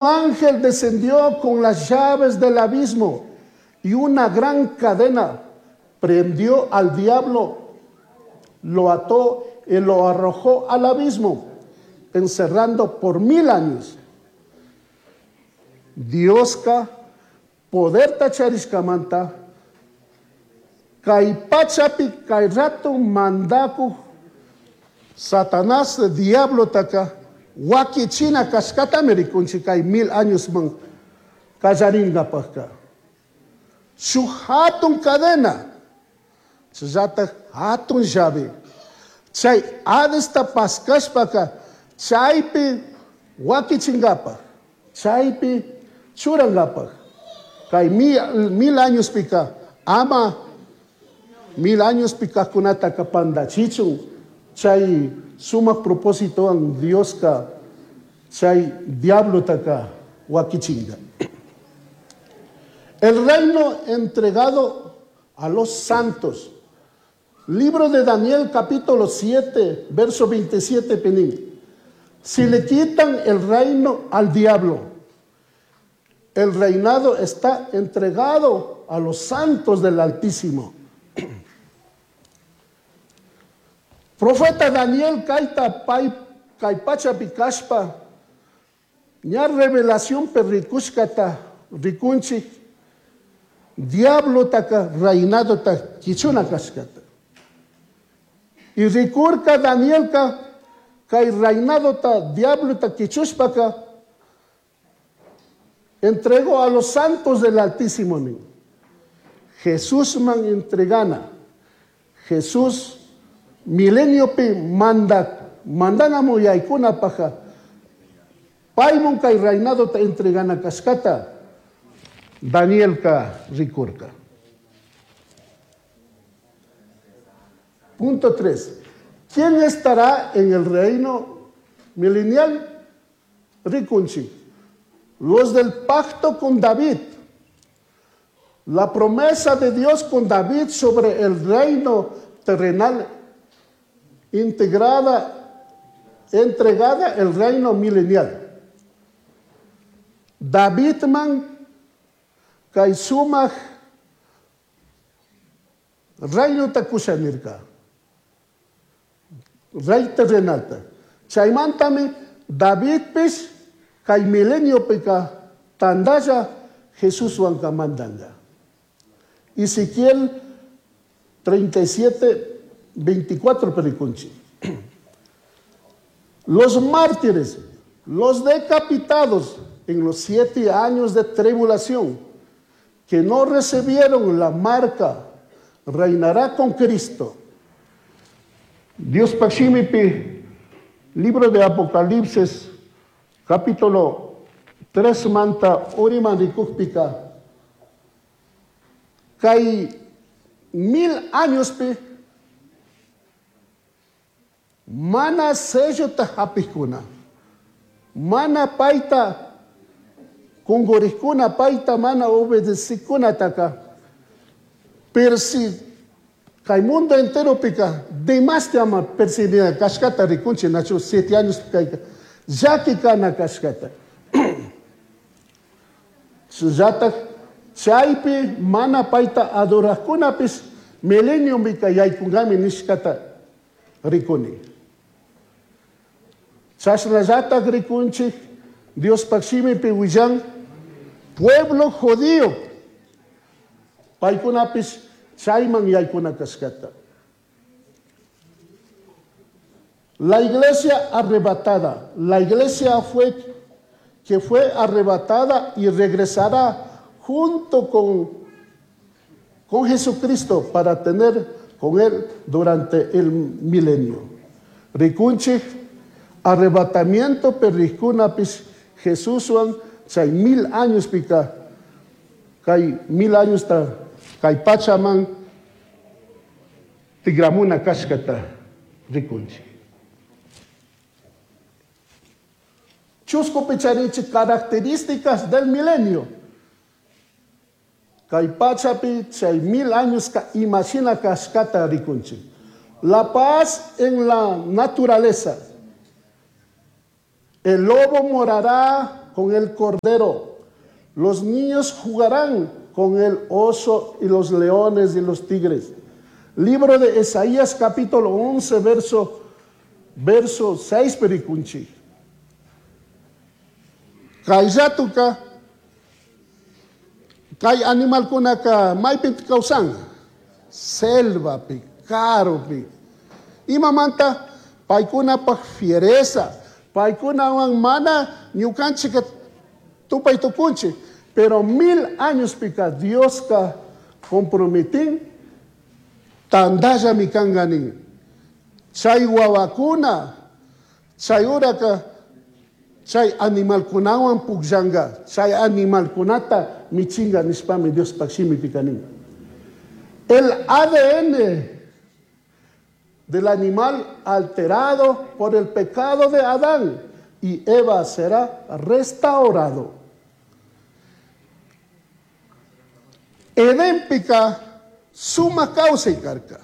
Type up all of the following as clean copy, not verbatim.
Ángel descendió con las llaves del abismo y una gran cadena. Prendió al diablo, lo ató y lo arrojó al abismo, encerrando por 1000 años. Diosca poderta charishcamanta kay pachapi kay rato mandakuj Satanás diablotaka wakichina kashkatami rikunchik kay 1000 añosman kallaringapajka. Shuk hatun cadena, chayllatak hatun llave. Chay Hadesta paskashpaka chaypi wakichingapaj, chaypi churangapaj. Kay 1000 añospika ama 1000 añospi kajkunataka pandachichun. Chay sumak propósitowan Dioska chay diablotaka wakichinga. El reino entregado a los santos. Libro de Daniel, capítulo 7, verso 27, Penín. Si le quitan el reino al diablo, el reinado está entregado a los santos del Altísimo. Profeta Daniel kaita pai kay pachapi kashpa ña revelación perrikushkata rikunchik diablotaka reinadota kichuna kashkata. Y rikurka Danielka kay reinadota diablota kichushpaka entregó a los santos del Altísimo. Jesús man entregana. Jesús milenio pi manda, mandana muyaykuna paja. Paymun kay reinado ta entregana kashkata. Danielka rikurka. Punto 3. ¿Quién estará en el reino milenial? Rikunchi. Los del pacto con David. La promesa de Dios con David sobre el reino terrenal entregada el reino milenial. David man kay sumaj reino takushanirka. Rey terrenalta. Chaymantami Davidpis kay milenio pika tandalla Jesús mandanga. Ezequiel 37, 24 pericunchi. Los mártires, los decapitados en los 7 años de tribulación, que no recibieron la marca, reinará con Cristo. Dios Paximipi, libro de Apocalipsis, capítulo 3 manta uriman rikukpika, kay 1000 años pi, mana sello ta hapikuna, mana paita kungurikuna, paita mana obedesikuna taka, persi kay mundo entero pika, demás te ama percibida kashkata rikunchi nacho 7 años kayka, llaki kana kashkata. Shullatak chaypi mana paita adorakunapis milenium pika yaykungami nishkata rikuni. Chashnallatak rikunchik Dios pakshimipi willan pueblo judío paykunapis chayman yaykuna kashkata. La iglesia arrebatada, la iglesia fue que fue arrebatada y regresará junto con Jesucristo para tener con él durante el milenio. Rikunchik, arrebatamiento perrikunapis Jesúswan chay 1000 años pika, kay 1000 años ta, kay pachaman tigramuna kashkata rikunchik. Chusco picharichi, características del milenio. Kay pachapi chay 1000 años ka imagina kashkata rikunchik. La paz en la naturaleza. El lobo morará con el cordero. Los niños jugarán con el oso y los leones y los tigres. Libro de Isaías capítulo 11, verso 6 perikunchi. Kayllatuka kay animalkunaka maypi kawsan selvapi, karupi. Imamanta paykunapaj fiereza, paykunawan mana ñukanchik tupay tukunchik, pero 1000 años pika Dioska comprometin tandallami kanka nin. Chay wawakuna, chay uraka, chay animalkunawan pukllanga, chay animalkunata michinga nishpami Diospaj shimipika nin. El ADN del animal alterado por el pecado de Adán y Eva será restaurado. Edenpika suma causa y carca.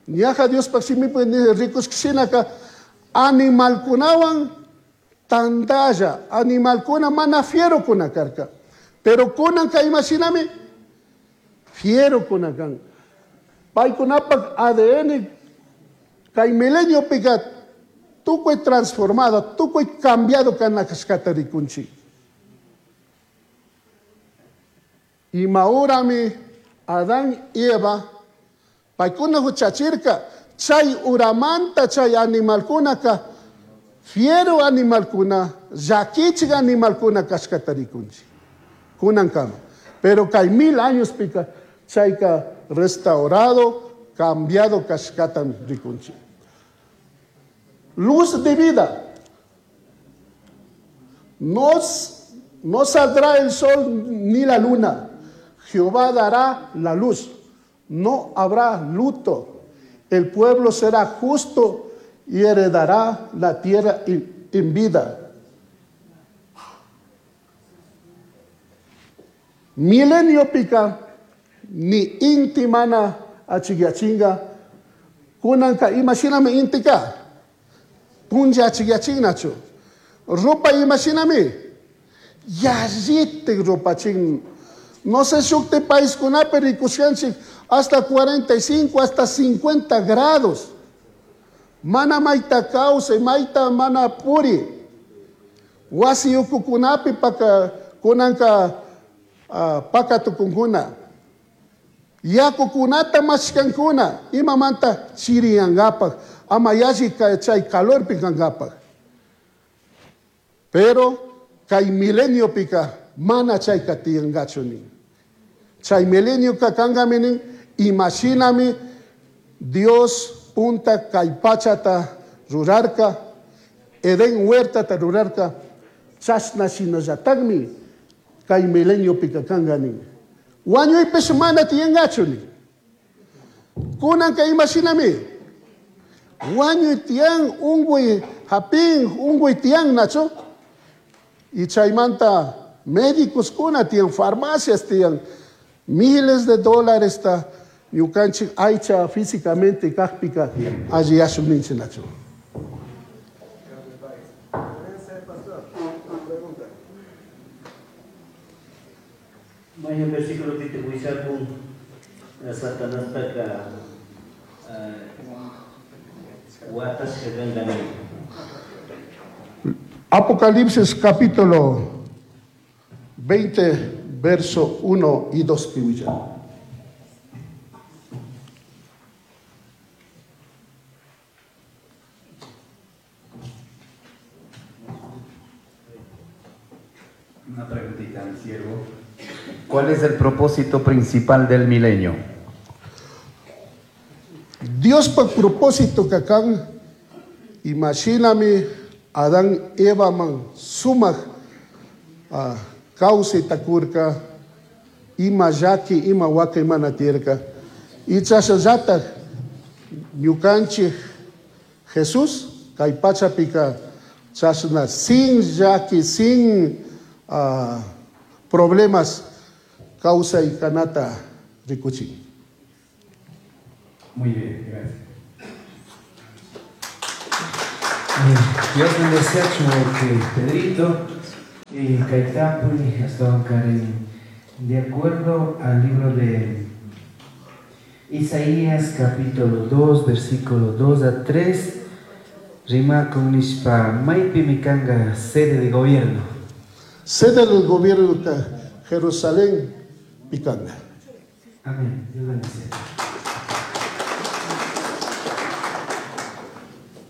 Ñaja Dios paximipi ni ricos kishinaka animalkunawan tandalla, animalkuna mana fiero kuna karka. Pero kunanka imashinami fiero kuna kan. Paykunapak ADN kay milenio pika tukuy transformado, tukuy cambiado kana kashkata rikunchik. Imaurami Adán y Eva paykuna huchachirka chay uramanta chay animalkunaka fiero animalkuna llakichik animalkuna kashkata rikunchik kunankama. Pero kay 1000 años pika chayka restaurado, cambiado kashkata rikunchik. Luz de vida. No saldrá el sol ni la luna. Jehová dará la luz. No habrá luto. El pueblo será justo y heredará la tierra en vida. Milenio pica, ni intimana achigyachinga, kunanka imashinami intika, punlla achigyachingnachu. Ropa imashinami, yallite ropa ching. No sé shukte país kunapi rikushanchik hasta 45, hasta 50 grados. Mana maita causa, maita mana puri. Wasi ukukunapi paka kunanka paka tukunkuna. Yakukunata mashkankuna, imamanta chiriyangapak, ama yashi chay calor pikangapak. Pero kay milenio pika mana chay katiyangachu nin. Chay milenio kakangami nin, imashinami Dios punta kay pachata rurarka, Edén huertata rurarka, chashna shinallatagmi kay milenio pika kanga nin. Wañuypish mana tiyangachu nin. Kunanka imashinami wañuy tiyan unguy hapin unguy tiyan nachu. Y chaymanta médicos kuna tiyan, farmacias tiyan, miles de dólares ta ñukanchik aycha físicamente kajpika alli yashun ninchik nachu. May un versículo que te voy a con Satanás taka watas kagangani. Apocalipsis capítulo 20, verso 1 y 2 piwilla. Una preguntita, mi siervo. ¿Cuál es el propósito principal del milenio? Dios por propósito que acá, imagíname Adán, Eva, man, sumaj, causa y tacurca, ima yaqui, ima huaca, ima natierca. Y chashallata, ñukanchik Jesús, kay pachapika, chashna, sin yaqui, sin problemas, causa y kanata rikuchin. Muy bien, gracias. Dios bendeciachu que Pedrito y Kaitapuy hasta de acuerdo al libro de Isaías capítulo 2 versículo 2 a 3 rima con nishpa maypi mikanga sede de gobierno. Sede del gobierno de Jerusalén pikanga. Amén. Dios bendice.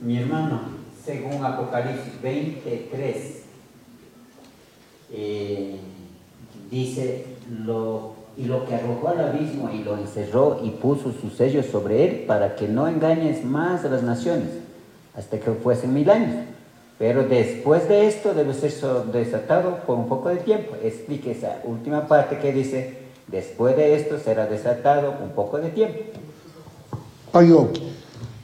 Mi hermano, según Apocalipsis 23, dice, y lo que arrojó al abismo y lo encerró y puso su sello sobre él para que no engañes más a las naciones, hasta que fuesen 1000 años. Pero después de esto debe ser desatado por un poco de tiempo. Explique esa última parte que dice, después de esto será desatado un poco de tiempo. Ayo,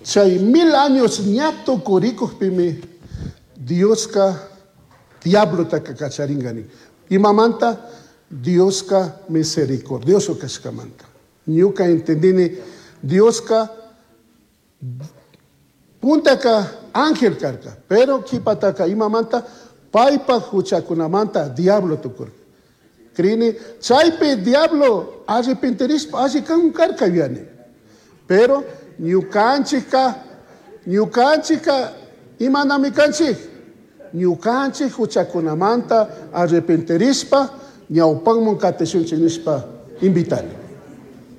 chay 1000 años ñato kurikujpimi Dioska diablo takacharingani. Imamanta Dioska misericordioso kashkamanta. Ñuka entendini Dioska puntaka ángel karka, pero kipataka imamanta paypa huchakunamanta diablo tukurka. Krini chaypi diablo arrepentirispa alli kan karka yuyani. Pero ñukanchikka imanami kanchik? Ñukanchik huchakunamanta arrepentirispa ñawpanman katishunchik nishpa invitani.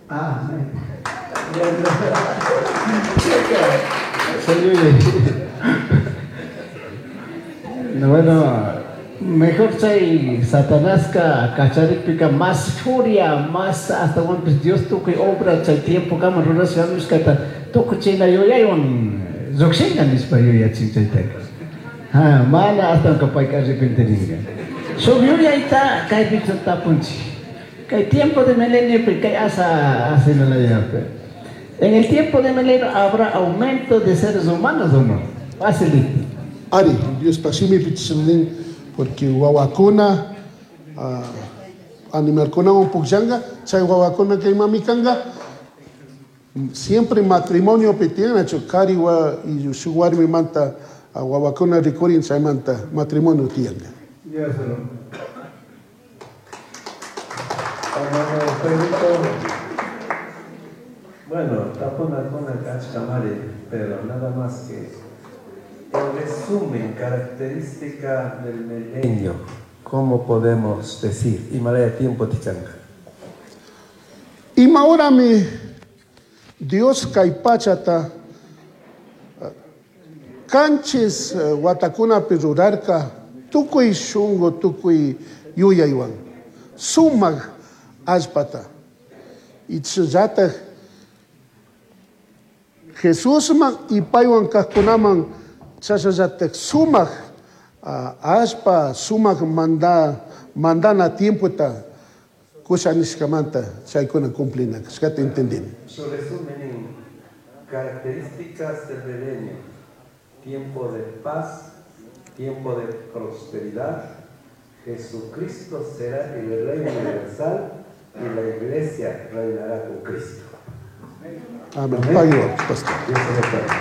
Amén. No, bueno, mejor chay Satanásca kacharikpika más furia, más hasta cuando Dios tukuy obra chay tiempo kama rurashka mishkata tukuy chayna yuyaywan llukshinga nishpa yuyachin chaytaka. Ha, mana hasta payka arrepentiringa. Shuk yuyayta kaypi tapunchik. Kay tiempo de milenio kay asa asinalayapë. En el tiempo de milenio habrá aumento de seres humanos o no. Facilito. Ari, Dios pasimi pichilin, porque wawakuna, animalkuna un pukllanga, chay wawakuna kay mamikanga, siempre matrimonio petiana, chukari wa y su warmi manta, wawakuna rikurin chay manta matrimonio tianga. Dios lo. Hermano Pedrito, bueno, tapuna kuna kachkamari, pero nada más que en resumen, característica del milenio, ¿cómo podemos decir? Y malaya tiempo tichanga. Y ahora mi Dios kaipachata kanchis watakuna pirurarka tukuy shungo tukuy yuyaywan sumaq allpata. Y chayllataj Jesusman y paywan kajkunaman chashallataj sumaq allpa sumaq mandana tiempota kusha nishkamanta chaykuna cumplina kashkata entendini. Su resumen en características del milenio: tiempo de paz, tiempo de prosperidad, Jesucristo será el Rey universal y la iglesia reinará con Cristo. Amén. Amén. Pagó, pastor. Dios te bendiga.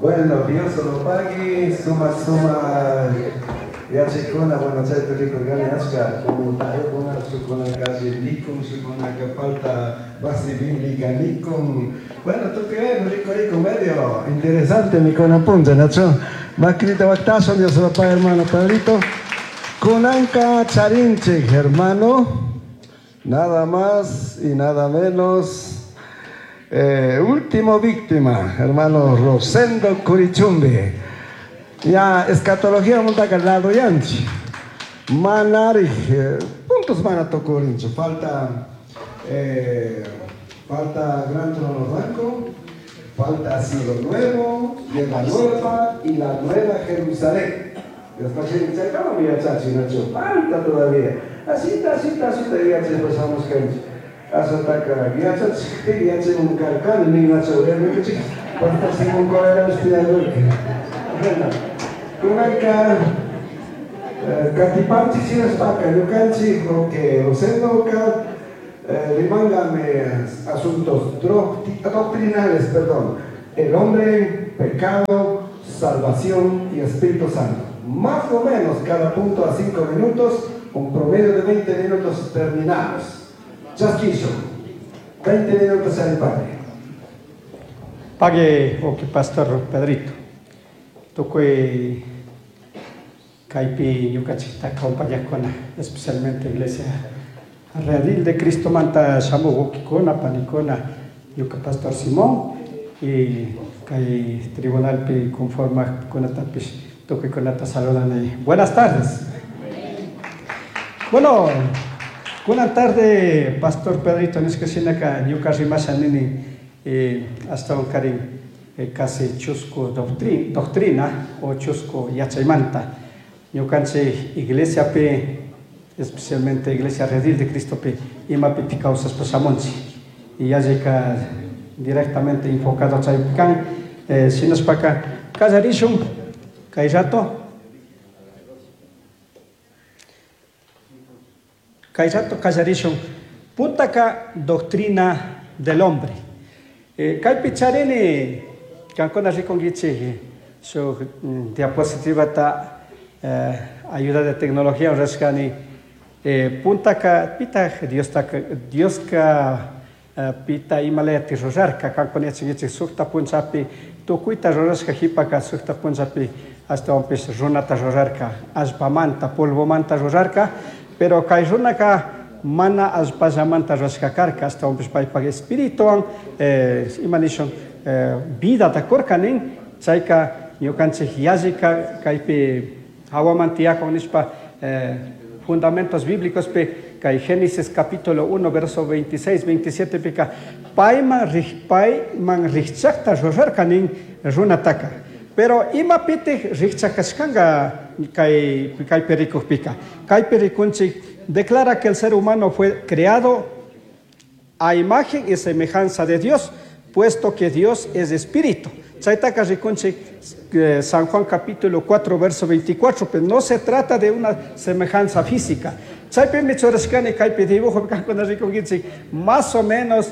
Bueno, Dios lo pague, suma, suma, ya chicona, bueno, chay tulico, gani, ashka, como tayo, con su, con la calle, nicum, su, con la que falta base bíblica, nicum. Bueno, tú qué ves, rico, rico, medio interesante, mi con apunte, Nacho. Macrita, bactazo, Dios lo pague, hermano Pedrito. Kunanka Charinche, hermano, nada más y nada menos. Último víctima, hermano Rosendo Curichumbe. Ya, escatología monta lado yanchi. Manari, puntos van a tocorincho. Falta Gran Trono Blanco, falta Cielo Nuevo, Tierra Nueva y la Nueva Jerusalén. Dios no se dice, ¿cómo mira, chachi, Nacho? Falta todavía. Así está, así está, así está, ya se pasamos gente. Asataka, ya chachi, ya se un carcán, ni Nacho, ya no que chica. Falta sin un correo, estoy de acuerdo. Bueno, con acá, Catipanchi, si es paca, yo canchi, lo que Rosendo acá, Rimangame asuntos doctrinales, perdón. El hombre, pecado, salvación y Espíritu Santo. Más o menos cada punto a 5 minutos, un promedio de 20 minutos terminamos. Chasquillo, 20 minutos al padre. Pague o que pastor Pedrito. Tukuy kaypi ñukanchikta acompañaqkuna, especialmente iglesia Redil de Cristo manta shamuq wawqikuna, panikuna, ñuka pastor Simón y kay tribunalpi conformaqkunatapish tukuykunata saludani. Buenas tardes. Bueno, buena tarde, pastor Pedrito, nishka shinaka ñuka rimasha nini ashtawan karin casi chusku doctrina o chusku yachaymanta. Ñukanchik iglesiapi, especialmente Iglesia Redil de Cristopi, imapitik kawsashpa shamunchik. Y yallika directamente enfocado chaypi kan. Shinashpaka kallarishun kay rato. Kay rato kallarishun. Puntaka doctrina del hombre. Kaypi charini kankuna rikunkichik shuk diapositivata ayuda de tecnología rurashkani. Puntaka pitaq Diostaka, Dioska pita imalayati rurarka, kankuna yachankichik sukta punchapi tukuyta rurashka jipaka sukta punchapi ashtawanpish runata rurarka, allpamanta, polvomanta rurarka, pero kay runaka mana allpallamanta rurashka karka, ashtawanpish paypak espirituwan ima nishun vidata kurka nin, chayka ñukanchik yallika kaypi hawaman tiyakun nishpa fundamentos bíblicos pe kay Génesis capítulo 1 verso 26, 27 pika payman payman rikchaqta rurarka nin runataka. Pero imapitik rikchakashkanga kay kaypi rikuqpika. Kaypi rikunchik declara que el ser humano fue creado a imagen y semejanza de Dios, puesto que Dios es espíritu. Chaytaka rikunchik San Juan capítulo 4 verso 24, pero no se trata de una semejanza física. Chaypi michurashkani kaypi dibujo kankuna rikunkichik, más o menos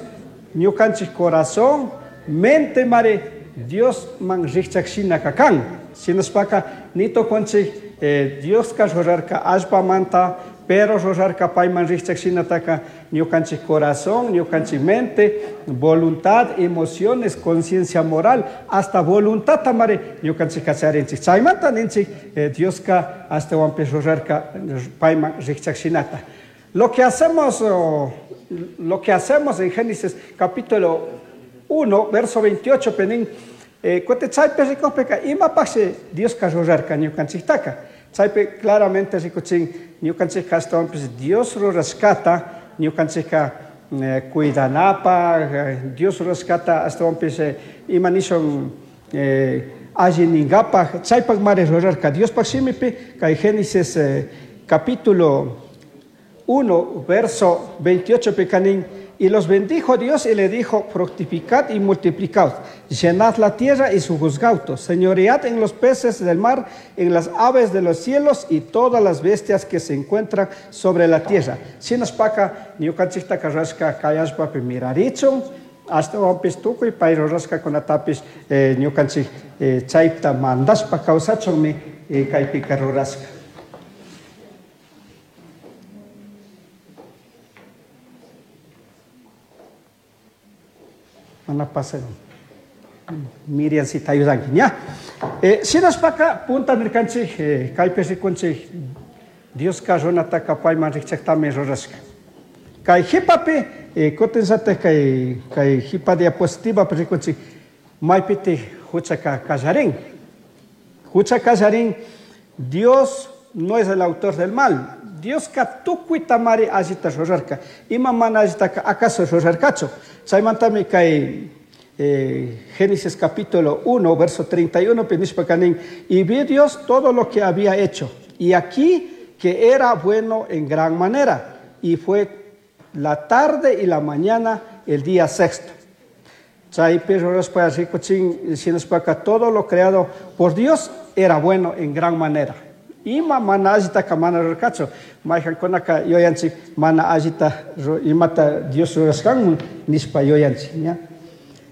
ñukanchik corazón, mente mare Dios man rikchak shina kakan. Shinashpaka nito konchik Dios ka rurarka allpamanta, pero rurarka payman rikchak shinataka ñukanchik corazón, ñukanchik mente, voluntad, emociones, conciencia moral, hasta voluntad tamare ñukanchik kacharinchik. Chaymanta ninchik Dioska ashtawanpish rurarka payman rikchak shinata. Lo que hacemos, oh, lo que hacemos en Génesis capítulo 1, verso 28, penin, kutin chaypi rikukpika imapaqshi Dioska rurarka ñukanchiktaka. Chaypi claramente rikuchin ñukanchik ashtawanpish Dios rurashkata ñukanchikka cuidanapaq, Dios rurashkata ashtawanpish ima nishun alli ninkapaq, chaypaq mari rurarka. Diospaq shimipi kay Génesis capítulo 1, verso 28 pikanin, y los bendijo Dios y le dijo, fructificad y multiplicad, llenad la tierra y sojuzgaos, señoread en los peces del mar, en las aves de los cielos y todas las bestias que se encuentran sobre la tierra. Shinashpaka, ñukanchiktaka rashka kay allpapi mirarichun, ashtawanpish tukuy pay rurashka kunatapish ñukanchik chayta mandashpa kawsachunmi kaypika rurashka. Mana pasa. Miriam si te ayudan, ¿ya? Shinashpaka punta nirkanchik, kaypi rikunchik, Dioska runataka payman rikchaktami rurashka. Kay jipapi, kutinllatak kay jipa diapositivapi rikunchik, maypitik huchaka kallarin. Hucha kallarin, Dios no es el autor del mal. Dioska tukuy tamari allita rurarka. Ima mana allitaka acaso rurarkachu. Chaymantami kay Génesis capítulo 1, verso 31, nishpa kanin, y vi Dios todo lo que había hecho, y aquí que era bueno en gran manera, y fue la tarde y la mañana el día sexto. Chaypi rurashpa rikuchin, shinashpaka todo lo creado por Dios era bueno en gran manera. Ima mana allitaka mana rurarkachu. Mayqankunaka yuyanchik mana allita imata Dios rurashkanman nishpa yuyanchik, ña.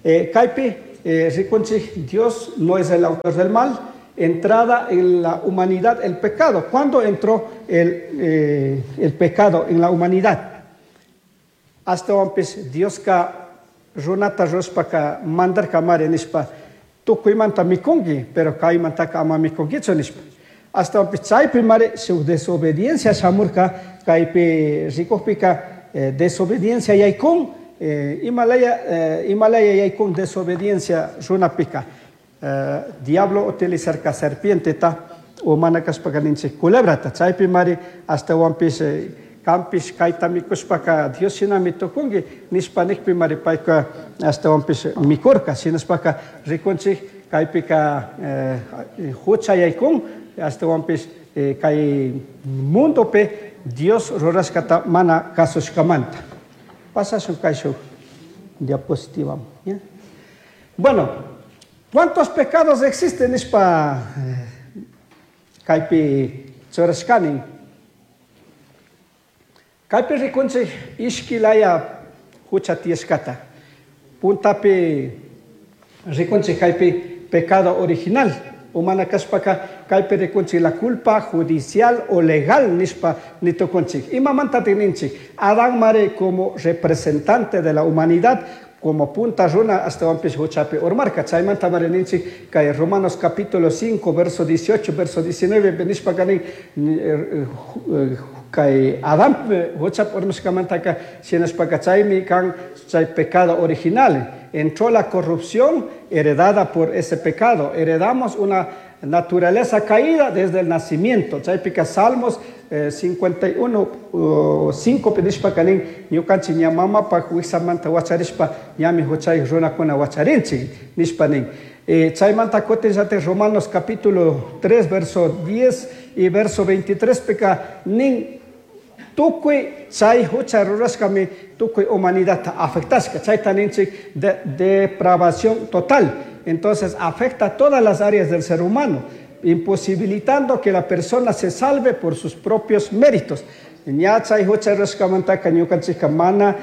Kaypi rikunchik Dios no es el autor del mal, entrada en la humanidad el pecado. ¿Cuándo entró el pecado en la humanidad? Ashtawanpish Dioska runata rurashpaka mandarka mari nishpa tukuymanta mikunki, pero kaymantaka ama mikunkichu nishpa. Ashtawanpish chaypi mari shuk desobediencia shamurka, kaypi rikukpika desobediencia yaykun, imalaya yaykun desobediencia runapika. Diablo utilizarka serpienteta o mana kashpaka ninchik culebrata, chaypi mari ashtawanpish kanpish kayta mikushpaka Dios shinami tukunki nishpa nikpi mari payka ashtawanpish mikurka. Shinashpaka rikunchik kaypika hucha yaykun, ashtawanpish kay mundopi Dios rurashkata mana kasushkamanta. Pasashun kayshuk diapositiva, ¿ya? Bueno, ¿cuántos pecados existen nishpa kaypi churashkani? Kaypi rikunchik ishki laya hucha tiyashkata. Puntapi rikunchik kaypi pecado original. Umana kashpaka kaypi rikunchik la culpa judicial o legal nishpa nitukunchik. Imamanta ninchik? Adán mare como representante de la humanidad, como punta runa ashtawanpish huchapi urmarka. Chaymanta mare ninchik kay Romanos capítulo 5 verso 18 verso 19 nishpaka nin, kay Adán huchapi urmashkamantaka shinashpaka chaymi kan chay pecado original. Entró la corrupción heredada por ese pecado. Heredamos una naturaleza caída desde el nacimiento. Chaypika Salmos 51, 5 nishpaka nin, ñukanchik ña mamapaj wiksamanta wacharishpa ñami huchayuq runakuna wacharinchik nishpa nin. Chaymanta kutin llatik Romanos capítulo 3 verso 10 y verso 23 pika nin, tukuy chay hucha rurashkami tukuy humanidadta afectashka. Chayta ninchik de depravación total. Entonces afecta a todas las áreas del ser humano, imposibilitando que la persona se salve por sus propios méritos. Ña chay hucha rurashkamantaka ñukanchikka mana,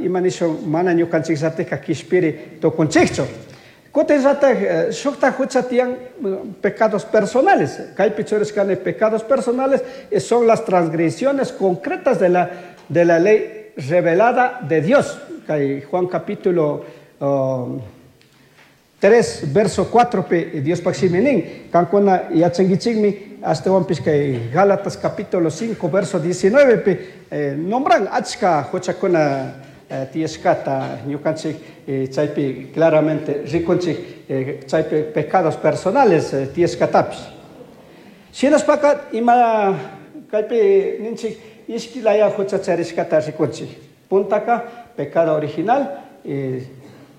ima nishun, mana ñukanchikllatikka kishpiri tukunchikchu. Kutin llatak, shukta hucha tiyan, pecados personales. Kaypi churashkani pecados personales son las transgresiones concretas de la ley revelada de Dios. Kay Juan capítulo 3, verso 4 pe Dios paximi nin. Kankuna yachankichikmi, ashtawanpish kay Gálatas capítulo 5, verso 19 pe nombran achka huchakuna tiyashkata ñukanchik, chaypi claramente rikunchik, chaypi pecados personales tiyashkatapish. Shinashpaka ima kaypi ninchik ishki laya hucha charishkata rikunchik. Puntaka pecado original,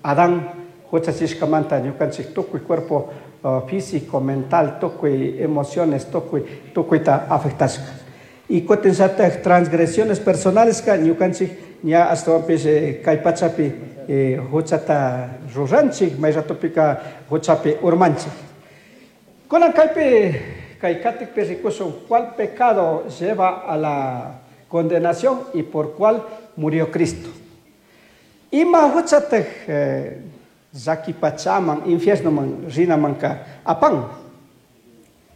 Adán huchachishkamanta ñukanchik tukuy cuerpo físico, mental, tukuy emociones, tukuy tukuyta afectashka. Y kutin llatak transgresiones personales ka ñukanchik ña ashtawanpish kay pachapi huchata ruranchik, may ratopika huchapi urmanchik. Kunan kaypi kay katikpi rikushun cuál pecado lleva a la condenación y por cuál murió Cristo. Ima huchataj llaki pachaman, infiernoman rinamanka apan.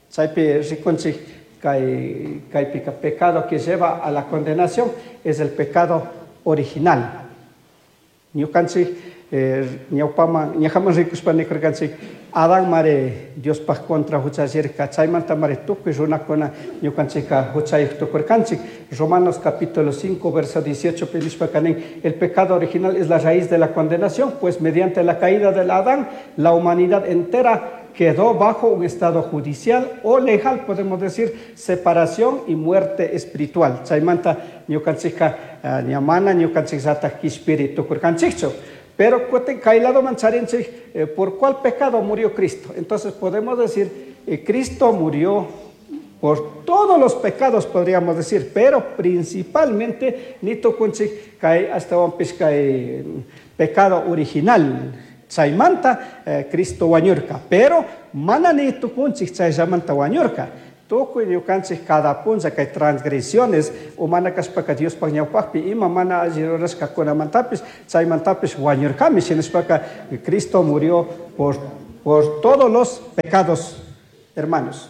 Chaypi rikunchik kay kaypika pecado que lleva a la condenación es el pecado original. Ñukanchik ñawpaman, ñajaman rikushpa nikurkanchik Adán mare Diospaj contra huchallirka, chaymanta mare tukuy runakuna ñukanchikka huchayuq tukurkanchik. Romanos capítulo 5, verso 18, nishpaka nin, el pecado original es la raíz de la condenación, pues mediante la caída del Adán, la humanidad entera quedó bajo un estado judicial o legal, podemos decir, separación y muerte espiritual. Chaymanta ñukanchikka, ñamana ñukanchikllataj kishpiri tukurkanchikchu. Pero kutin kay ladoman charinchik, ¿por cuál pecado murió Cristo? Entonces podemos decir, Cristo murió por todos los pecados, podríamos decir, pero principalmente nitukunchik kay ashtawanpish kay pecado original. Chaymanta Cristo wañurka, pero mana nitukunchik chayllamanta wañurka. Tukuy ñukanchik cada punlla kay transgresiones umana kashpaka Diospaj ñawpajpi ima mana alli rurashkakunamantapis chaymantapish wañurkami. Shinashpaka Cristo murió por todos los pecados, hermanos.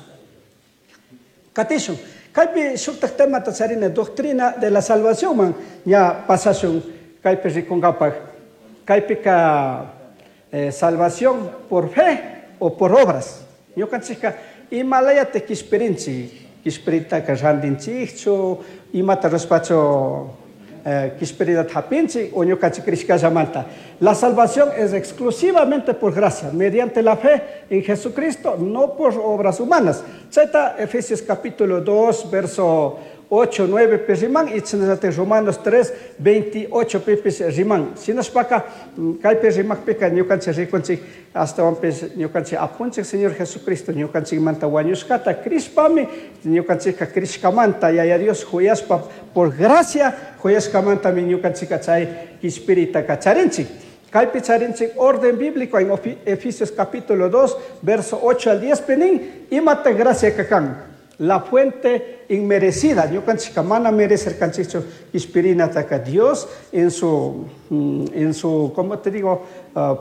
Katishun. Kaypi shuktak temata charina doctrina de la salvación man ña pasashun kaypi rikunkapaj. Kaypika salvación por fe o por obras. Ñukanchikka imalayata kishpirinchik, kishpiritaka rantinchikchu, imata rurashpachu kishpirinata hapinchik o ñukanchik crishkallamanta. La salvación es exclusivamente por gracia, mediante la fe en Jesucristo, no por obras humanas. Chayta Efesios capítulo 2, verso 8, 9 pi riman, y chashnallata Romanos 3, 28 pipis riman. Shinashpaka, kaypi rimajpika ñukanchik rikunchik, ashtawanpish ñukanchik apunchik Señor Jesucristo, ñukanchikmanta wañushkata crishpami, ñukanchikka crishkamanta, Yaya Dios juyashpa, por gracia juyashkamantami ñukanchikka chay kishpiritaka charinchik. Kaypi charinchik orden bíblico en Efesios capítulo 2, verso 8 al 10, penin, imata gracia kakan. La fuente inmerecida, ñukanchikka mana merecerkanchikchu kishpirinataka Dios en su, ¿cómo te digo?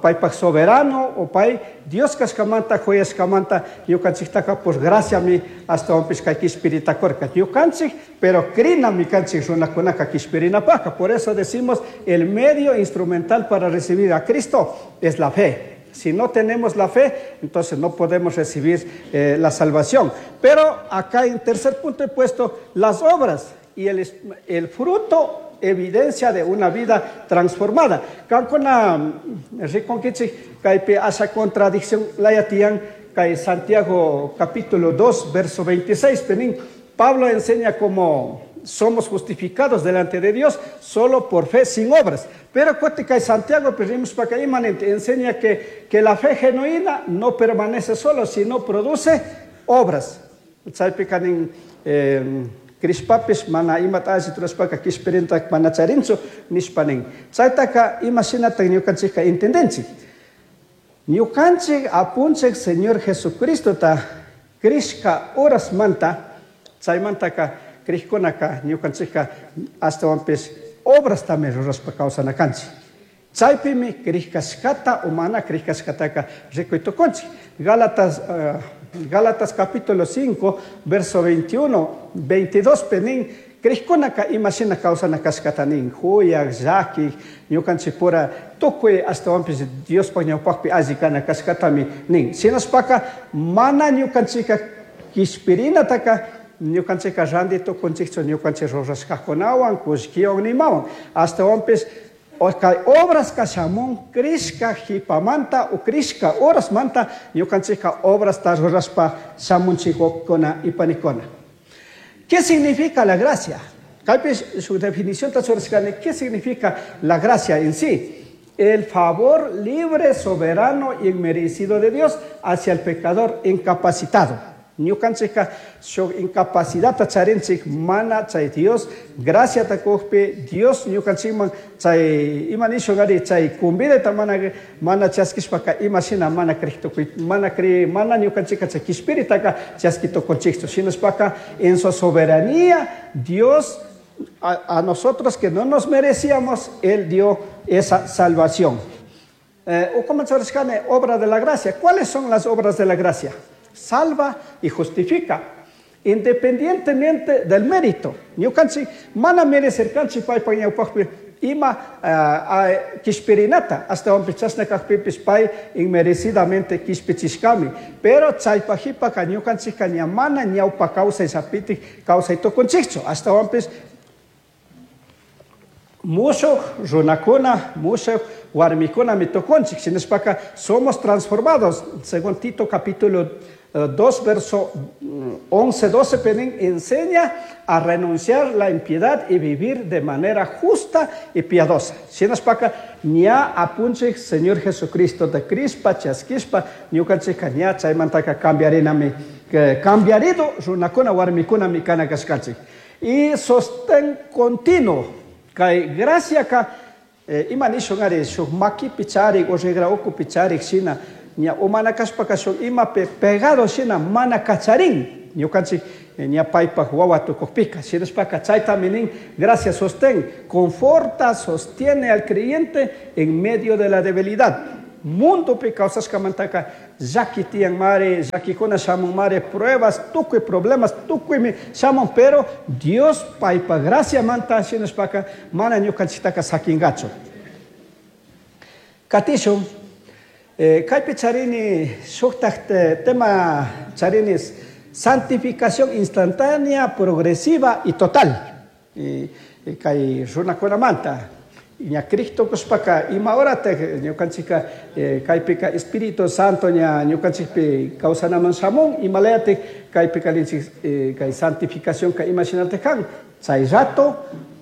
Paypaj soberano o pay Dios kashkamanta, juyashkamanta, ñukanchiktaka por gracia mi ashtawanpish kay kishpirita kurka. Ñukanchik, pero crinami kanchik runakunaka kishpirinapajka. Por eso decimos, el medio instrumental para recibir a Cristo es la fe. Si no tenemos la fe, entonces no podemos recibir la salvación. Pero acá en tercer punto he puesto las obras y el fruto, evidencia de una vida transformada. Kankuna rikunkichik kaypi asha contradicción layatiyan kay Santiago capítulo 2, verso 26. Penin, Pablo enseña cómo somos justificados delante de Dios solo por fe sin obras. Pero cuate kay Santiago, pedimos para que imanente, enseña que la fe genuina no permanece solo, sino produce obras. Chaypi kanin crishpapis mana imata alli rurashpaka kishpirintak mana charinchu nishpa nin. Chaytaka ima shinatak ñukanchikka entendenchik. Ñukanchik apunchik Señor Jesucristota crishka horasmanta, chaymantaka crishkunaka ñukanchikka ashtawanpish obrastami rurashpa kawsanakanchik. Chaypimi crishkashkata o mana crishkashkataka rikuy tukunchik. Gálatas capítulo 5, verso 21, 22, penin, crishkunaka ima shina kawsanakashkata nin, huyak, llaki, ñukanchik pura tukuy ashtawanpish Diospaj ñawpajpi alli kana kashkatami nin. Shinashpaka mana ñukanchikka kishpirinataka ñukanchikka ranti tukunchikchu ñukanchik rurashkakunawan, kullkiwan nimawan. Ashtawanpish kay obras kashamun crishka jipamanta o crishka horasmanta ñukanchikka obrasta rurashpa shamunchikuna y panikuna. ¿Qué significa la gracia? Kaypi su definición ta churashkani, ¿qué significa la gracia en sí? El favor libre, soberano y inmerecido de Dios hacia el pecador incapacitado. Ñukanchikka shuk incapacidad charinchik mana chay Dios gracia ta kujpi Dios ñukanchikman chay ima nishu gari chay kumbidata mana mana chaskishpaka ima shina mana crihtukuy mana cri mana ñukanchikka chay kishpiritaka chaskitukunchikchu. Shinashpaka en su soberanía Dios a nosotros que no nos merecíamos, Él dio esa salvación. O como se llama, obra de la gracia. ¿Cuáles son las obras de la gracia? Salva y justifica, independientemente del mérito. Ñukanchik mana merecer kanchik paypa ñawpaqpi ima kishpirinata, hasta wanpis chashna kaqpipis pay inmerecidamente kishpichishkami. Pero chaypajipaka ñukanchikka ña mana ñawpa kawsay sapitik kawsay tukunchikchu. Hasta wanpis mushuq runakuna, mushuq warmikunami tukunchik. Shinashpaka somos transformados, según Tito capítulo 2, verso 11, 12, Penín enseña a renunciar la impiedad y vivir de manera justa y piadosa. Shinashpaka ña apunchik Señor Jesucristo de Crispa, chaskishpa, ñukanchikka ña chaymantaka cambiarinami, que cambiarido runakuna warmikuna mikana kashkanchik. Y sostén continuo, kay gracia ka ima nishun ari, shuk makipi charik o regra ukupi charik shina, ña umana kashpaka shuk imapi pegado shina mana kacharin. Ñukanchik ña paypaj wawa tukukpika. Shinashpaka chaytami nin gracia sostén, conforta, sostiene al creyente en medio de la debilidad. Mundopi kawsashkamantaka llaki tiyan mari, llakikuna shamun mari, pruebas, tukuy problemas, tukuymi shamun, pero Dios paypa gracia manta shinashpaka mana ñukanchiktaka sakingachu. Katishun, kaypi charini shuktak tema charini santificación instantánea, progresiva y total. Kay runakunamanta. Ña Cristo kushpaka ima horataj ñukanchika kaypika Espíritu Santo ña ñukanchikpi kawsanaman shamun, imalayatik kaypika ninchik kay santificación ka ima shinataj kan, chay rato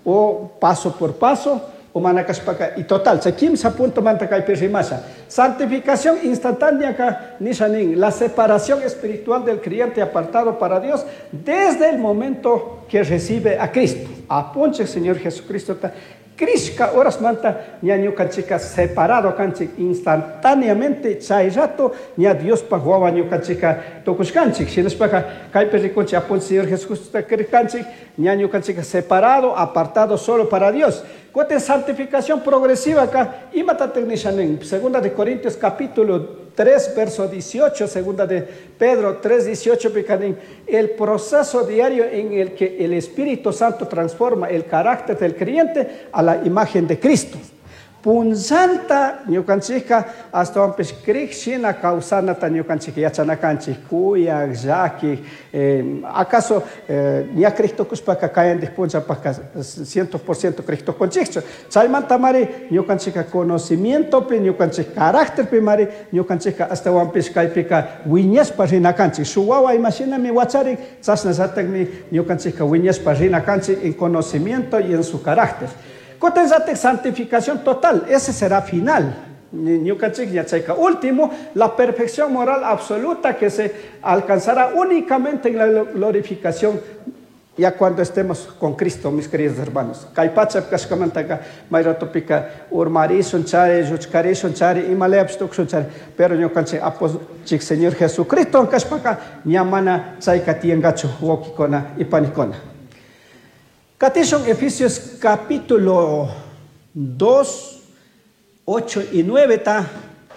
o paso por paso o mana kashpaka y total. Chay kimsa punto manta kaypi rimasha. Santificación instantánea ka nisha nin, la separación espiritual del creyente apartado para Dios desde el momento que recibe a Cristo. Apunche Señor Jesucristo ta Krishka horas manta ña ñukanchika separado kanchik instantáneamente chay rato ña Diospa wawa ñukanchika tukushkanchik. Shinashpaka kaypi rikunchik apunchik Señor Jesucristo kanchik ña ñukanchika separado, apartado solo para Dios. Kutin santificación progresiva ka imatatik nisha nin. Segunda de Corintios capítulo 3, verso 18, segunda de Pedro 3, 18, picanín, el proceso diario en el que el Espíritu Santo transforma el carácter del creyente a la imagen de Cristo. Punzanta ñukanchika astawanpish krik shina kawsanata ñukanchika yachanakanchik, kuyak, llaki, acaso ña Cristo kushpaka kayandik punllapaka 100% Cristo kunchikchu. Chaymanta mari ñukanchika conocimientopi, ñukanchik carácterpi mari ñukanchika astawanpish kaypika wiñashpa rinakanchik. Shuk wawa imashinami wacharin, chashnallatakmi ñukanchika wiñashpa rinakanchik en conocimiento y en su carácter. Kutin santificación total, ese será final. Ñukanchik yachayka último, la perfección moral absoluta que se alcanzará únicamente en la glorificación ya cuando estemos con Cristo, mis queridos hermanos. Kay pacha kashkamantaka mayratopika urmarishun chari, lluchkarishun chari, imaleapis tukshun chari, pero ñukanchik apunchik Señor Jesucristo kashpaka ña mana chayka tiyankachu wawkikuna y panikuna. Katishun Efesios capítulo 2, 8 y 9 ta,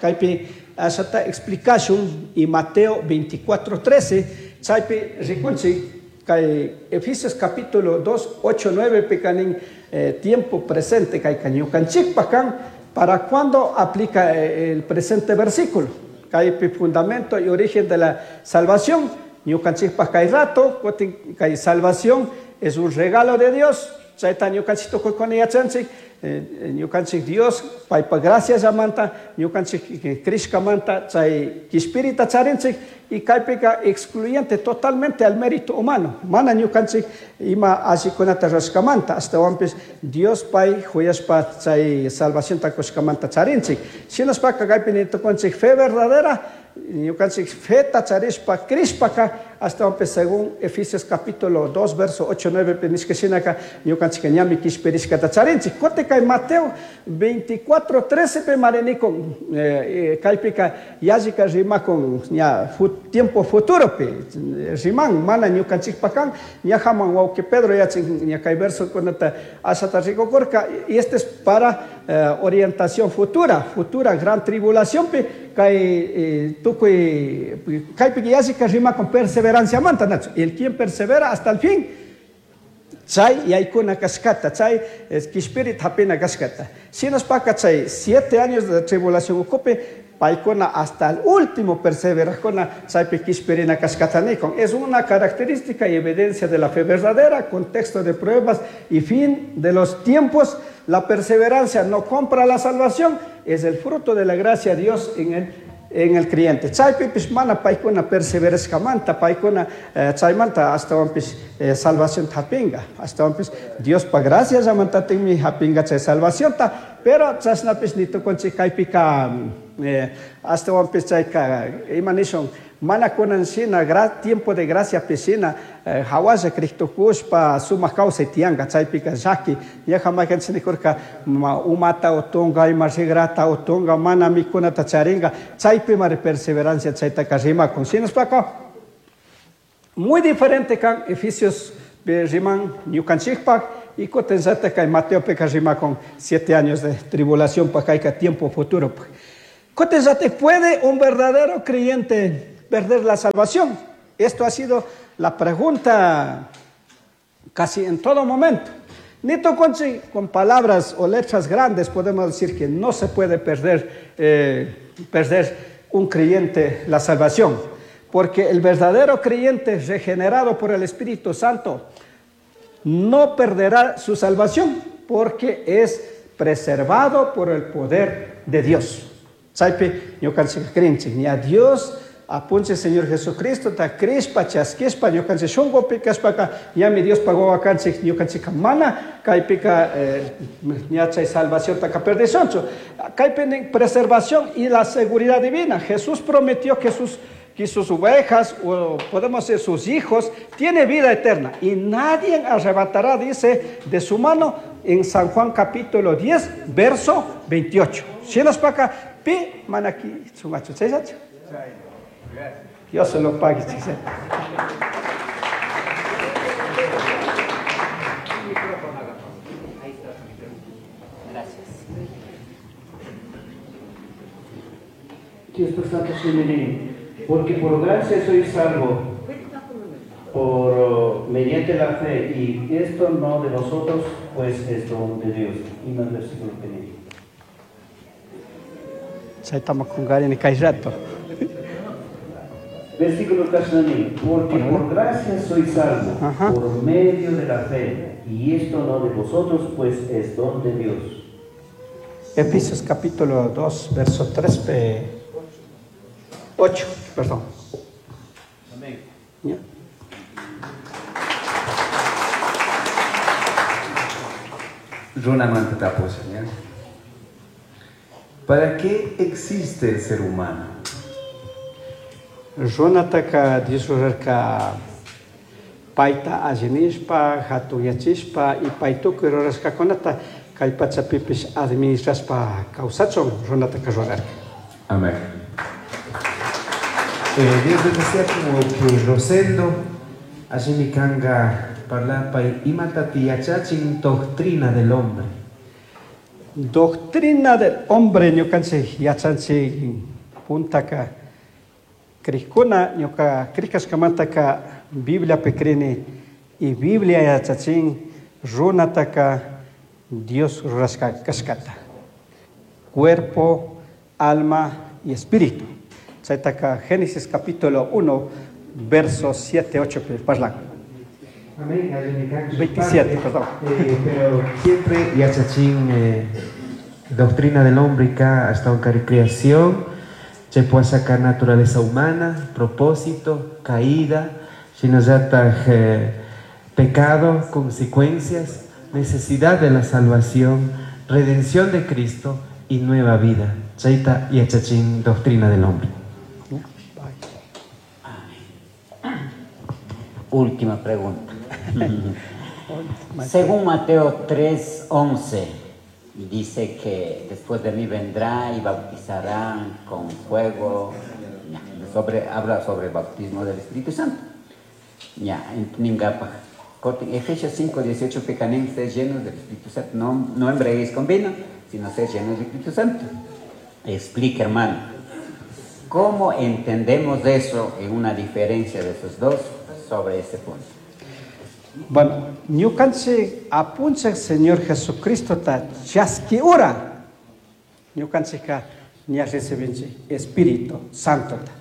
kaypi ashata explicashun y Mateo 24, 13, chaypi rikunchik kay Efesios capítulo 2, 8, 9 pikanin, tiempo presente kay ñukanchikpa kan, para cuando aplica el presente versículo, kaypi fundamento y origen de la salvación, ñukanchikpa kay rato, kutin kay salvación es un regalo de Dios. Chayta ñukanchik tukuykuna yachanchik, ñukanchik Dios paypa gracia llamanta, ñukanchik krishkamanta chay kishpirita charinchik y kaypika excluyente totalmente al mérito humano. Mana ñukanchik ima allikunata rurashkamanta, astawanpish Dios pay huyashpa chay salvacionta kushkamanta charinchik. Shinashpaka kaypi nitukunchik fe verdadera, ñukanchik feta charishpa krishpaka, astawanpish según Efesios capítulo 2, verso 8, 9, nishka shinaka, ñukanchik ñami kishpirishkata charinchik. Kutin kay Mateo 24, 13 pe marinikon, kaypika yallika rimakon ña tiempo futuro pe riman, mana ñukanchikpa kan, ña haman wawqi Pedro yachin ña kay verso kunata ashata rikukurka, y este es para orientación futura, futura gran tribulación pe, kay tukuy kaypi yallika rimakon perseverancia manta, nacho. El quien persevera hasta el fin, chay yaykuna kashkata, chay kishpirit hapina kashkata. Shinashpaka chay 7 años de tribulación ukupi, paykuna hasta el último perseverajuna, chaypi kishpirina kashkata nikon. Es una característica y evidencia de la fe verdadera, contexto de pruebas y fin de los tiempos. La perseverancia no compra la salvación, es el fruto de la gracia de Dios en el creyente. Chaypi pish mana paykuna perseverashkamanta, paykuna chaymanta astawanpish salvación hapinga. Astawanpish Dios pa gracia llamantatinmi hapinga chay salvacionta, pero chashnapish nitukunchik kaypika, astawanpish chayka ima nishun, mana kunan shina tiempo de gracia pishina, hawalla Cristo kushpa sumak kawsay tiyanka, chaypika llaki, ñaja maykanchik nikurka, umata utunga, ima rigrata utunga, mana mikunata charinga, chaypi mari perseverancia chaytaka rimakun. Shinashpaka Muy diferente kan Efesios riman ñukanchikpak y kutinllatak kay Mateopika rimakun 7 años de tribulación pa kayka tiempo futuro. Kutinllatak puede un verdadero creyente perder la salvación. Esto ha sido la pregunta casi en todo momento. Ni toconchi con palabras o letras grandes podemos decir que no se puede perder un creyente la salvación, porque el verdadero creyente regenerado por el Espíritu Santo no perderá su salvación, porque es preservado por el poder de Dios. Chaypi ñukanchik krinchik, ña Dios apunche Señor Jesucristo ta krishpa chaskishpa ñukanchik shunkupi kashpaka ñami Dios pagó akanchik ñukanchika mana kaypika ña chay salvación taka perdishunchu. Kaypi nin preservación y la seguridad divina. Jesús prometió que sus ovejas, o podemos decir sus hijos, tiene vida eterna y nadie arrebatará, dice, de su mano en San Juan capítulo 10, verso 28. Shinaspaka pi manaki sumachu chaysachu. Dios se lo pague, chaysachu. Gracias. Dios Santo, porque por gracia sois salvo por mediante la fe, y esto no de vosotros, pues es don de Dios. Y más versículo que dice. Estamos con Gary en el rato. Versículo 14, porque por gracia sois salvo, ajá, por medio de la fe, y esto no de vosotros, pues es don de Dios. Efesios capítulo 2, verso 3, 8, perdón. Amén. ¿Ya? Runamanta tapusa, ¿ya? ¿Para qué existe el ser humano? Runataka Dios rurarka payta allinishpa, hatunyachishpa y paytukuy rurashkakunata kay pachapipish administrashpa kawsachun runataka rurarka. Amén. Dios decía como que Rosendo, allí kanga parlapa imatati yachachin doctrina del hombre. Doctrina del hombre ñukanchik yachanchik puntaka krikuna ñuka krikashkamantaka Bibliapi krini y Biblia yachachin runataka Dios rurashka kashkata. Cuerpo, alma y espíritu. Chaytaka Génesis capítulo 1, versos 7, 8, parlan. Amén. 27, perdón. Pero siempre yachachin doctrina del hombre ka hasta un creación, se puede sacar naturaleza humana, propósito, caída, shinazata pecado, consecuencias, necesidad de la salvación, redención de Cristo y nueva vida. Chayta yachachin doctrina del hombre. Última pregunta. Según Mateo 3:11, dice que después de mí vendrá y bautizarán con fuego. Habla sobre el bautismo del Espíritu Santo. Ya, Efesios 5:18, pecanen, sed llenos del Espíritu Santo. No embriaguéis con vino, sino sed llenos del Espíritu Santo. Explica, hermano, ¿cómo entendemos eso en una diferencia de esos dos sobre ese punto? Bueno, ñukanchik apunchik Señor Jesucristo ta chaski ura. Ñukanchikka ña recibinchik Espíritu Santo ta.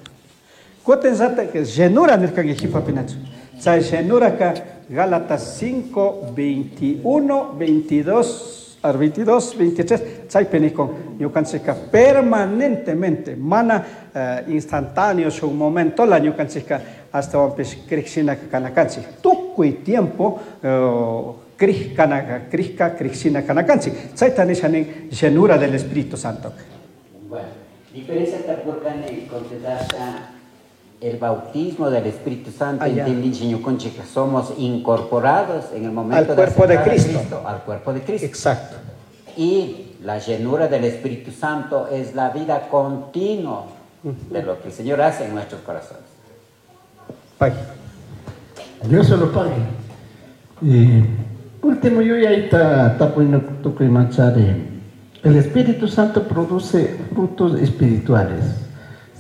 Kutin zata que llenura nirkanki jipapinachu. Chay llenura ka Gálatas 5, 21, 22, 22, 23, chaypi nikun ñukanchikka permanentemente, mana instantáneo shuk momento la ñukanchikka astawanpish krikshina kanakanchik. Tukuy tiempo krishka krikshina kanakanchik. Chayta nisha nin llenura del Espíritu Santo. Bueno, diferencia tapurkani contestasha el bautismo del Espíritu Santo, que somos incorporados en el momento al cuerpo de Cristo. Al cuerpo de Cristo. Exacto. Y la llenura del Espíritu Santo es la vida continua de lo que el Señor hace en nuestros corazones. Bye. Dios se lo pague. Y último yuyayta tapuy tukuymanchari. El Espíritu Santo produce frutos espirituales.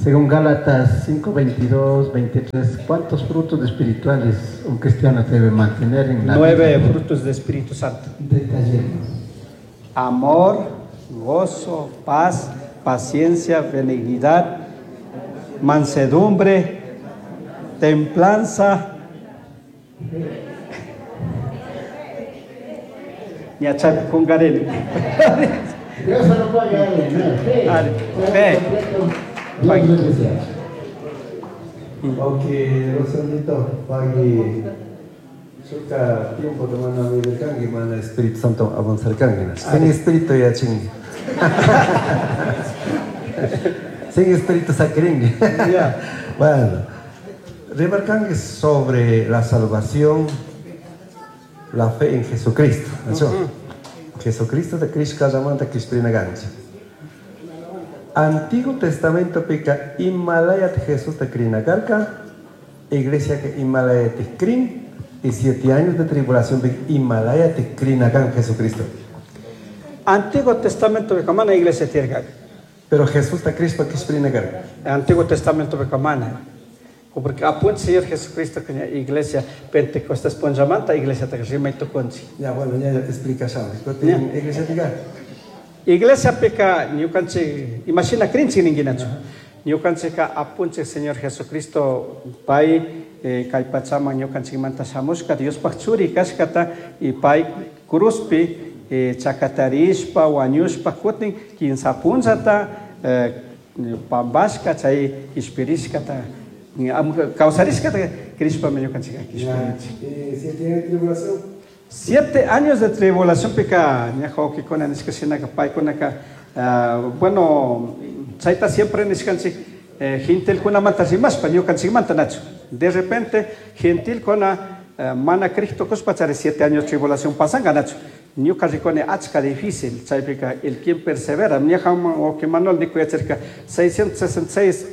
Según Gálatas 5, 22, 23, ¿cuántos frutos espirituales un cristiano debe mantener en la 9 vida? frutos del Espíritu Santo. Detallemos. Amor, gozo, paz, paciencia, benignidad, mansedumbre, templanza. Ña chaypi qunqarini. Dios se lo pague. Fe. Ari, fe. Dios bendice. Ok, Rosandito, pagui shuka tiempo te mana mirkanki, mana Espíritu Santo avanzarkanki. Sin Espíritu yachinki. Sin Espíritu sakirinki. Bueno, remarcanki sobre la salvación, la fe en Jesucristo. ¿No? Jesucristo de Cristo llamanta Crispina. Antiguo Testamento pica Himalayat Jesús de Krinakarka, iglesia que Himalaya te crin y 7 años de tribulación pica Himalaya te Krinakan Jesucristo. Antiguo Testamento pica mana iglesia tierra. Pero Jesús de Cristo Crispinakarka. Antiguo Testamento pica mana. Porque apunta Señor Jesucristo que la iglesia Pentecostés ponjamanta iglesia te rima y tukunchi. Ya bueno, ya explica ya. Iglesia pica. Iglesia pica ñukanchik imagina krinchik ninguinachu. Ñukanchikka apunchik Señor Jesucristo pay kay pachaman ñukanchikmanta shamushka Diospaj churi kashkata y pay cruzpi chakatarishpa wañushpa kutin kinsa punllata pampashka chay kishpirishkata kawsarishkata krishpami ñukanchikka kishpirinchik. 7 años de tribulación. 7 años de tribulación pica ñaja wawqikuna nishka shinaka paykunaka, bueno, chayta siempre nishkanchik, gentilkunamanta rimashpa ñukanchikmanta nachu. De repente gentilkuna, mana Cristo kushpa chari 7 años de tribulación pasanka nachu. Ñuka rikuni achka difícil, chaypika el quien persevera, ñaja wawqi Manuel nikuyachirka 666,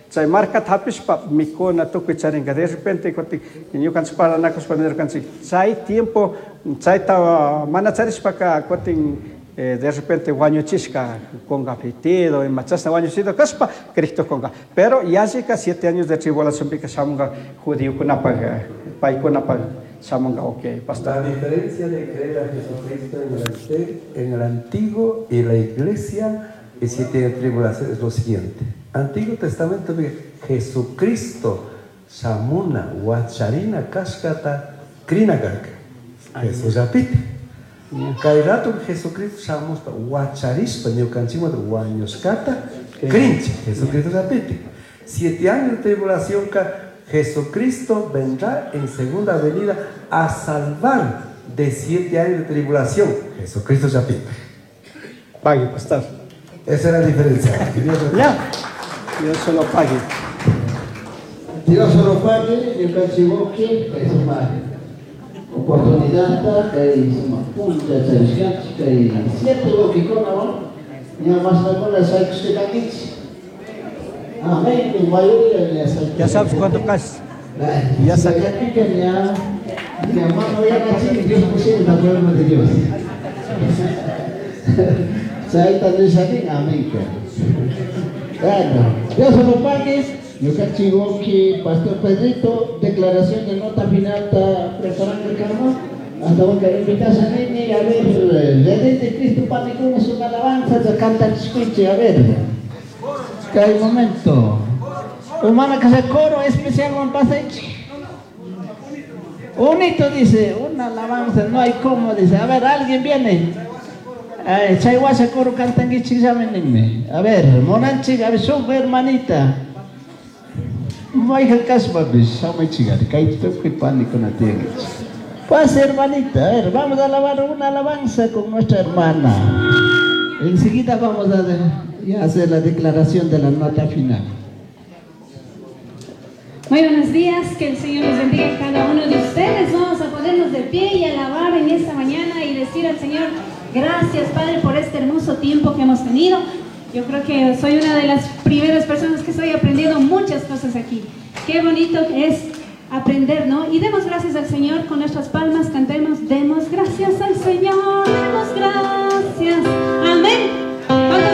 chay markata hapishpa mikuna tukuy charinka. De repente kutin ñukanchik paranakushpa nirkanchik chay tiempo chayta mana charishpaka kutin, de repente wañuchishka conga pitido, ima chashna wañuchido kashpa Cristo conga. Pero yallika 7 años de tribulación pika shamunga judiokunapaj, paykunapaj shamunga, ok, pastor. La diferencia de creer a Jesucristo en el Antiguo y la Iglesia y 7 años de tribulación es lo siguiente. Antiguo Testamento de Jesucristo, Samuna, Huacharina, Cascata, Krinakarka. Jesús repite. Kairato Jesucristo Samusta, Huacharispa, Ñucanchima, Huañoscata, Crinche. Jesucristo repite. 7 años de tribulación, Jesucristo vendrá en segunda venida a salvar de 7 años de tribulación. Jesucristo repite. Pague, pastor. Esa es la diferencia. Que Dios lo Ya. Dios se lo pague. Dios se lo pague, ñukanchik kay suma oportunidad, kay suma punta, kay 7 wawqikuna, ¿no? Ña mashnakuna shaykushkakankichik. Amén, mi mayoría ya sabe. Ya sabes cuánto casi. Ya sabes. Ya, ya, mano, ya nací, Dios pusieron la palabra de Dios. Chaita nishanin, amén. Bueno, Dios se lo pague. Ñukanchik wawqi, Pastor Pedrito, declaración de nota final está preparando el carro. Hasta que invitación nini, a ver, Redente Cristo Panicuna es una alabanza, ya canta el escuche, a ver. Que hay momento. Humana que se coro especial Juan Pasech. Unito dice, una alabanza, no hay como, dice. A ver, alguien viene. Ay, Chayhuasha coro cantan guichik. A ver, monanchik, a ver, sube hermanita. Mayhan kashpapis, shamaychik, kay tukuy panikuna tiyankichik. Pase hermanita, a ver, vamos a alabar una alabanza con nuestra hermana. Enseguida vamos a ya hacer la declaración de la nota final. Muy buenos días, que el Señor los bendiga a cada uno de ustedes. Vamos a ponernos de pie y alabar en esta mañana y decir al Señor, gracias Padre por este hermoso tiempo que hemos tenido. Yo creo que soy una de las primeras personas que estoy aprendiendo muchas cosas aquí. Qué bonito es aprender, ¿no? Y demos gracias al Señor con nuestras palmas, cantemos, demos gracias al Señor, demos gracias. Amén.